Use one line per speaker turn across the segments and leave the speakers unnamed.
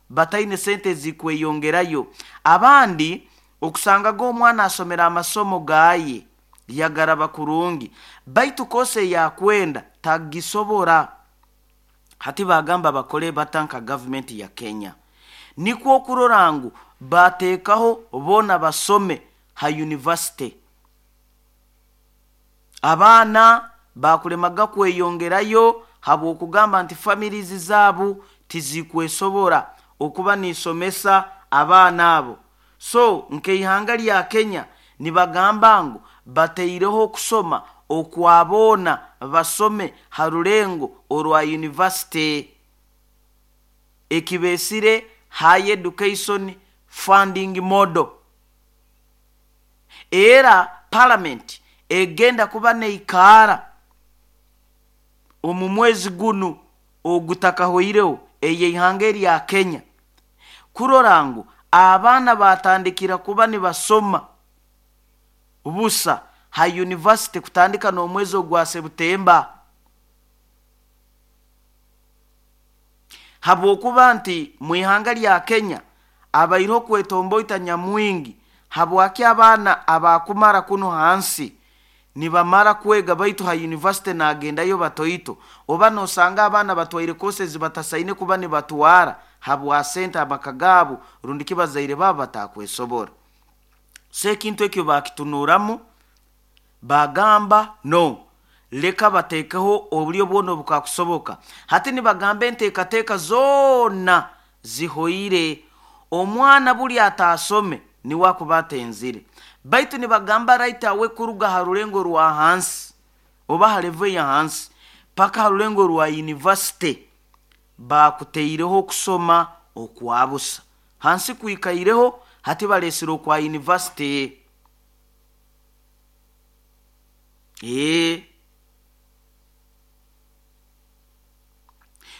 Bataine sente ezikweyongerayo. Abandi okusangaga omwana asomera amasomo gaye yagaraba kurungi, baitu kosa eyakwenda tagisobora. Hati bagamba bakole bata nka gavumenti ya Kenya? Nikwo okurora ngu bateekaho boona basome ha yunivasite. Abaana bakulemaga kweyongerayo habw'okugamba nti families zaabo tizikwesobora okuba nisomesa abaana abo. So nk'eihanga lya Kenya nibagamba ngu bateireho okusoma okwa boona basome ha rulengo orwa yunivasite, ekibeesire High Education Funding Model. Era palamenti egenda kuba neikaara omu mwezi gunu ogutakahoireho ey'eihanga erya Kenya kurora ngu abaana batandikira kuba nibasoma busa ha yunivasite kutandika n'omwezi ogwa Sebutemba, habwokuba nti mu ihanga lya Kenya abaireho kwetomboita nyamwingi habwaki abaana abakumara kunu hansi nibamara kwega, baitu ha yunivasite nagendayo batoito, oba nosanga abaana batwaire courses batasaine kuba nibatwara habwa sente amaka gaabo rundi ki bazaire baabo batakwesobora. So ekintu ekyo bakitunuramu bagamba, no, leka bateekeho oburyo bwona obukakusoboka. Hati nibagamba enteekateeka zoona zihoire, omwana buli ataasome niwe akuba atenzire, baitu nibagamba right awe kuruga ha rulengo rwa hansi oba ha level ya hansi paka ha rulengo rwa yunivasite bakuteireho okusoma okwabusa. Hansi kwikaireho, hati balesire okwa yunivasite.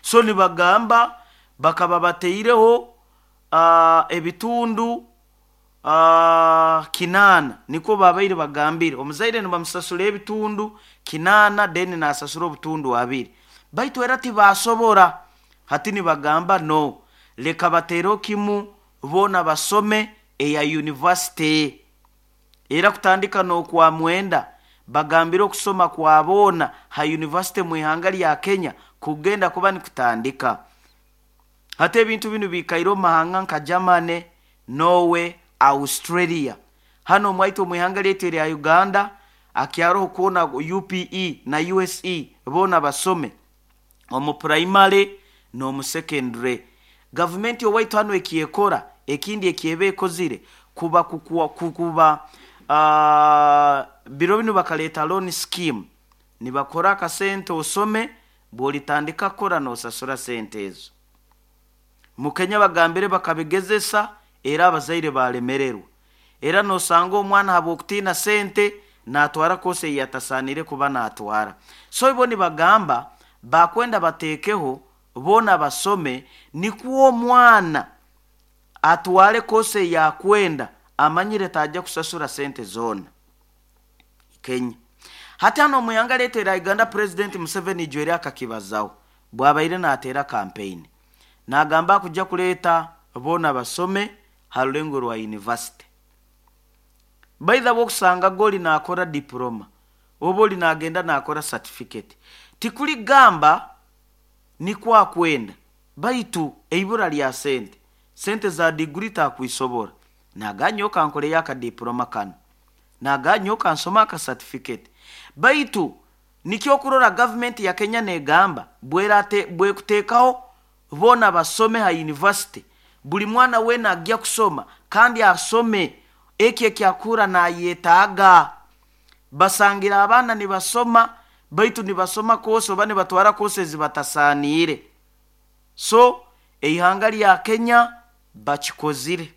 So nibagamba bakaba bateireho ebitundu 80, nikwo babaire bagambire. Omuzaire nibamusasura ebitundu 80, then nasasura obutundu 20, baitu era tibasobora. Hati nibagamba, no, leka bateereho kimu boona basome eya yunivasite. Era kutandika n'okwa mwenda bagambire okusoma kwa boona ha yunivasite mu ihanga lya Kenya kugenda kuba nikutandika. Hati ebintu binu biikaire omu mahanga nka Germany, Norway, Australia. Hanu omwaitu omu ihanga lyaitu erya Uganda akyaroho kwona UPE na USE boona basome omu primary n'omu secondary. Gavumenti owaitu hanu ekyekora ekindi ekyeba ekozire kuba kuba biro binu bakaleeta loan scheme, nibakora akasente osome, bw'olitandika kukora n'osasura sente ezo. Mu Kenya bagambire bakabigezesa, era abazaire balemererwa. Era nosanga omwana habw'okutiina sente natwara kosi ei atasaanire kuba natwara. So bo nibagamba bakwenda bateekeho boona basome, nikwo omwana atware kosi eyakwenda amanyire tajja kusasura sente zoona. Kenya. Hati hanu omu ihanga lyaitu erya Uganda, Purezidenti Museveni ijweri akakibazaho bwabaire nateera kampeyini, nagamba akujja kuleeta boona basome ha rulengo rwa yunivasite. Baitha bwokusanga goli nakora diploma oba oli nagenda nakora certificate, tikuli gamba nikwo akwenda, baitu eibura lya sente, sente za diguri takwisobora, naganya okankoreyo akadiploma kanu, naganya okansoma aka certificate. Baitu nikyo okurora gavumenti ya Kenya negamba bwekuteekaho boona basome ha yunivasite, buli mwana weena agya kusoma kandi asome ekyo ekyakura nayetaaga. Basangira abaana nibasoma, baitu nibasoma kosi oba nibatwara kosi ezibatasaaniire. So eihanga lya Kenya bakikozire.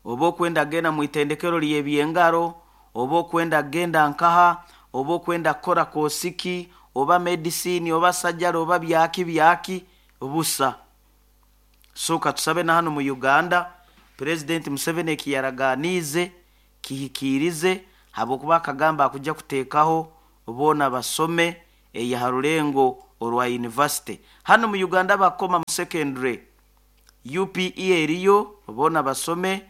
Oba okwenda genda mu itendekero ly'ebyengaro, oba okwenda genda nkaha, oba okwenda kukora kosiki, oba medicine, oba sajari, oba byaki byaki busa. So katusabe na hanu mu Uganda Purezidenti Museveni ekiyaraganiize kihikiirize, habwokuba akagamba akujja kuteekaho boona basome eya ha rulengo orwa university. Hanu mu Uganda bakoma mu secondary, UPE eriyo boona basome,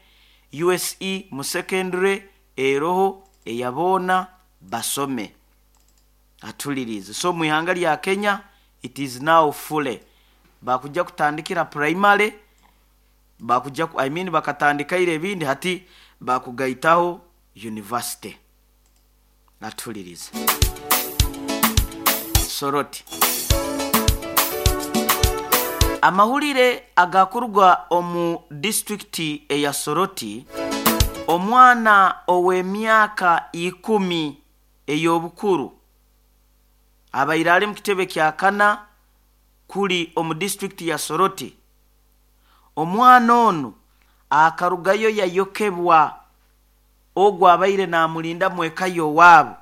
USE mu secondary eroho eya boona basome. Atulirize. So mu ihanga lya Kenya it is now fully bakujja kutandikira primary, bakujja I mean bakatandikaire ebindi, hati bakugaitaho university. Atulirize. Soroti. Amahulire agakuruga omu disitulikiti eya Soroti, omwana ow'emyaka 10 ey'obukuru abaire ali mu kitebe kya kana kuli omu disitulikiti ya Soroti, omwana onu akarugayo yayokebwa ogwo abaire namulinda mweka y'owaabo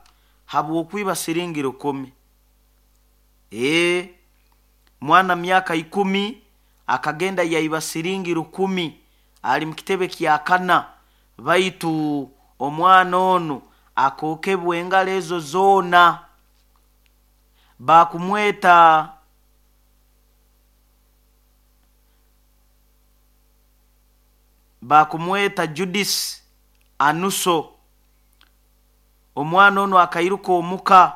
habw'okwiba siringi 10. Mwana myaka 10 akagenda yaiba siringi 10 ali mu kitebe kya kana, baitu omwana onu akokebwa engalo ezo zoona. Bakumweta Judith Anuso. Omwana onu akairuka omuka,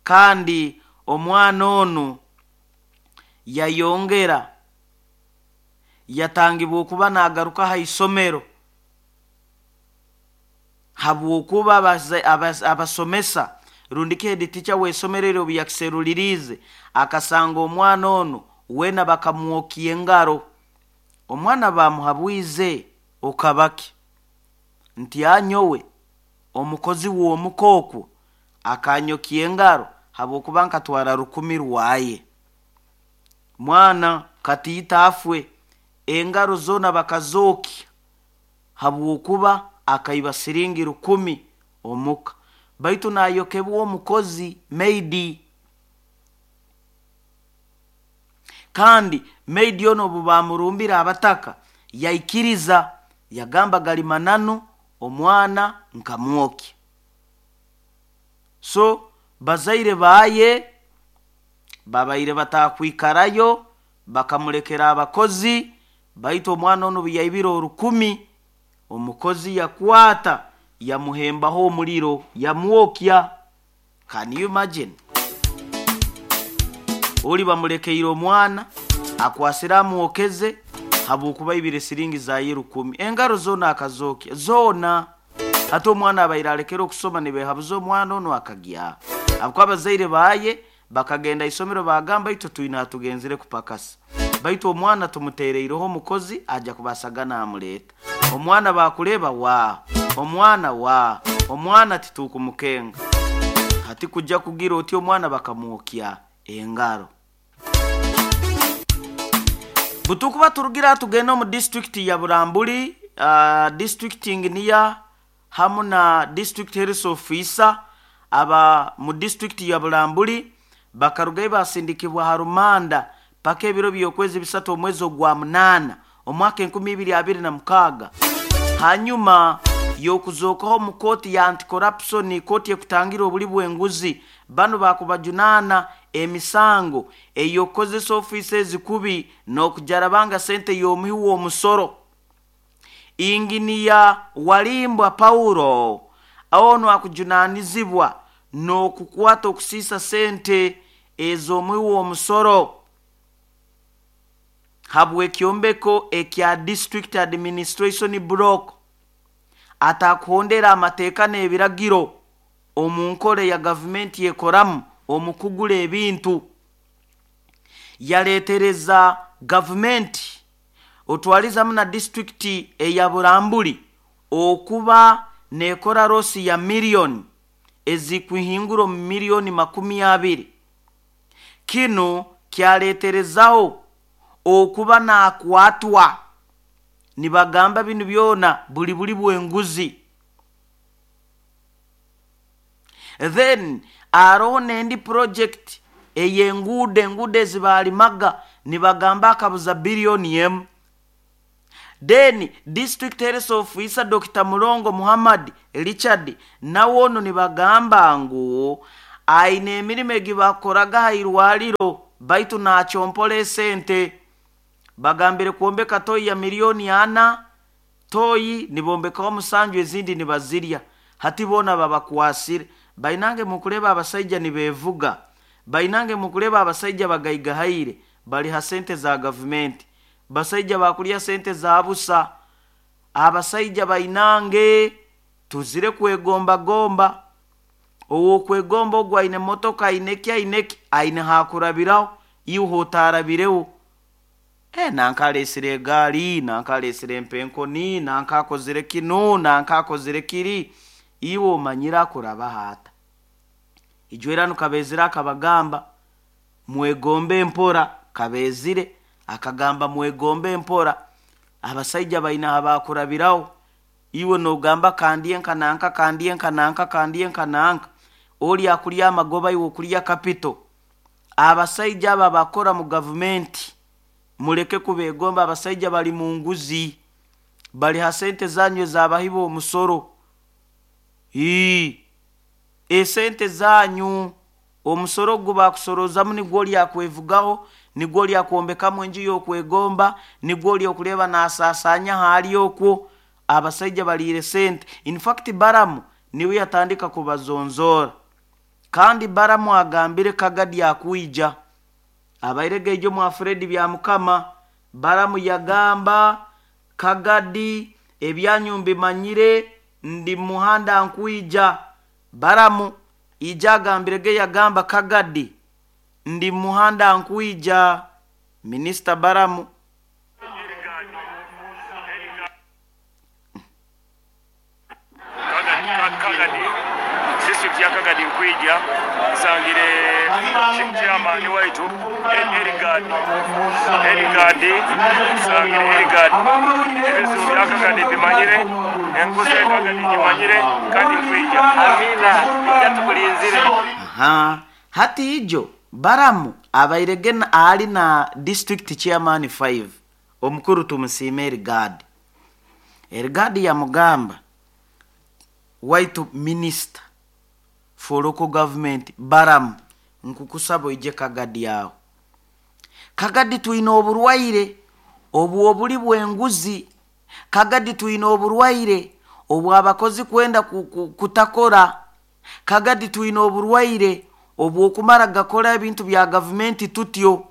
kandi omwana onu yayongera yatangibwa okuba nagaruka ha isomero habwokuba abasomesa rundi head teacher w'esomero eryo obu yakiseruliriize akasanga omwana onu weena bakamwokia engaro. Omwana bamuhabwize okabaki nti anyowe omukozi w'omuka okwo akanyokia engaro habwokuba nkatwara 10 rwaye. Mwana katiita afwe, engaro zoona bakazokya habwokuba akaiba siringi 10 omuka, baitu nayokebwa omukozi maidi. Kandi maidi ono obu bamurumbira abataka yaikiriza, yagamba gali mananu omwana nkamwokya. So bazaire baye babaire batakwikarayo bakamulekera abakozi, baitu omwana ono buyaibire 10 omukozi yakwata yamuhembaho omuliro yamwokya. Can you imagine? Oli bamulekeire omwana akwasire amwokeze habwokuba ibire siringi zaye 10, engaro zoona akazokya zoona. Hati omwana abaire alekere okusoma nibehabuza omwana ono akagya, habwokuba abazaire baye bakagenda isomero bagamba itwe twine hatugenzire kupakasa, baitu omwana tumutereireho omukozi aja kubasaga namuleeta. Omwana bakureba wa omwana wa omwana titukumukenga. Hati kujja kugira oti omwana bakamwokya engaro. Butukuba turugira tugenda omu district ya Burambuli, district inginiya hamu na district health officer aba mu district ya Burambuli bakarugayo basindikibwa ha rumanda paka ebiro by'okwezi 3 omwezi ogwa 8 omwaka 2026, hanyuma y'okuzookaho mu kooti ya anti-corruption, kooti ekutangira obuli bw'enguzi. Bano bakubajunana emisango ey'okukozesa ofiisi ezikubi n'okujarabanga sente y'omuhi w'omusoro. Inginiya Walimbwa Paulo ono akujunanizibwa n'okukwata okusiisa sente ez'omuhi w'omusoro habw'ekyombeko ekya district administration block, atakuhondera amateeka n'ebiragiro omu nkora ya gavumenti ekoramu omu kugura ebintu. Yaleetereza gavumenti otwalizamu na disitulikiti eya Burambuli okuba nekora rosi ya miliyoni ezikuhingura omu miliyoni 20. Kinu kyaleeterezaho okuba nakwatwa nibagamba binu byona buli buli bw'enguzi. Then aroho n'endi project ey'enguudo, enguudo ezibalimaga nibagamba akabuza biliyoni 1. Then district health officer Dr. Mulongo Muhammad Richard nawe ono nibagamba ngu Aine emirimo egi bakoraga ha irwaliro, baitu nakyompola esente. Bagambire kwombeka toyi ya 4,000,000, toyi nibombekaho 7, ezindi nibazirya. Hati boona babakwasire. Bainange mukureba abasaija nibevuga, bainange mukureba abasaija bagaigahaire, bali ha sente za gavumenti. Basaija bakulya sente za busa. Abasaija bainange tuzire kwegombagomba. Owokwegomba ogu aine motoka, aine ki, aine ki, aine hakurabiraho, iwe hotarabireho. Nanka aleesire egaari, nanka aleesire empenkoni, nanka akozire kinu, nanka akozire kiri, iwe omanyire akurabaho ata? Ijwera Kabezire akabagamba mwegombe mpora. Kabezire akagamba mwegombe mpora. Abasaija baine abakurabiraho, iwe nogamba kandye nka nanka, kandye nka nanka, kandye nka nanka, oli akulya amagoba, iwe okulya kapito. Abasaija aba bakora mu gavumenti muleke kubegomba. Abasaija bali mu nguzi, bali ha sente zanyu ezabahiba omusoro. Esente zanyu omusoro gwo bakusorozamu nigwo oli akwevugaho, nigwo oli akwombekamu enju y'okwegomba, nigwo oli okureba nasasanya haali okwo. Abasaija baliire sente. In fact Baramu niwe yatandika kubazonzora, kandi Baramu agambire Kagadi akwija abaire gaijo mwa Fredi bya Mukama. Baramu yagamba Kagadi ebyanyu mbimanyire, ndi muhanda nkwija. Baramu ija agambire ge yagamba Kagadi ndi muhanda nkwija. Minisita Baramu
Kagadi, district ya Kagadi nkwija nsangire chairman waitu Erigadi, Erigadi nsangire Erigadi, ebizibu bya Kagadi bimanyire, enguzi ya Kagadi gimanyire, kandi nkwija.
Amina, ijja tukulinzire.
Aha, hati ijo Baramu abairege ali na district chairman 5 omukuru tumusiime Erigadi. Erigadi yamugamba waitu minister for local government Baramu nkukusaba oije Kagadi aho. Kagadi twine oburwaire obw'obuli bw'enguzi. Kagadi twine oburwaire obw'abakozi kwenda kutakora. Kagadi twine oburwaire obw'okumara gakora ebintu bya gavumenti tutyo.